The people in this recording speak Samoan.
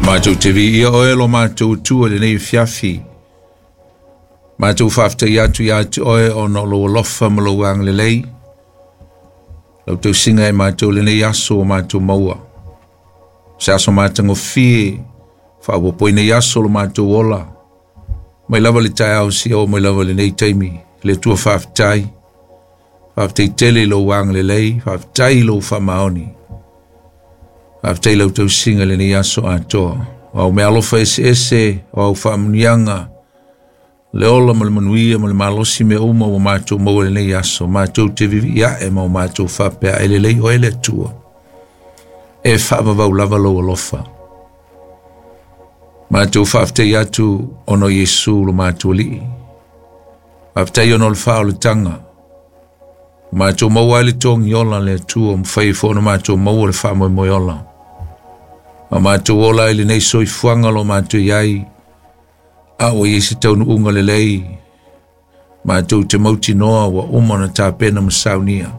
Matou te viia oe lo matou Atua i lenei afiafi. Matou faafetai atu ia te oe ona o lou alofa ma lou agalelei. Lau tausiga e matou lenei aso ua matou maua. Se aso matagofie, faaopoopo i nei aso lo matou ola. Mai lava le taeao seia oo mai lava i lenei taimi. Le Atua faafetai. Faafetai tele i lou agalelei, faafetai i lou faamaoni. Faafetai i lau tausiga i lenei aso atoa. O au meaalofa eseese, o au faamanuiaga, le ola ma le manuia ma le malosi mea uma ua matou maua i lenei aso, matou te vivii ae ma o matou faapea, e lelei oe le Atua. E faavavau lava lou alofa. Matou faafetai atu ona o Iesu lo matou Alii. Faafetai ona o le faaolataga. Ua matou maua ai le togi ola le Atua, mafai ai foi ona matou maua le faamoemoe ola. Ma matou ola ai lenei soifuaga o lo o matou i ai, a ua i ai se taunuuga lelei, matou te mautinoa ua uma ona tapena ma saunia.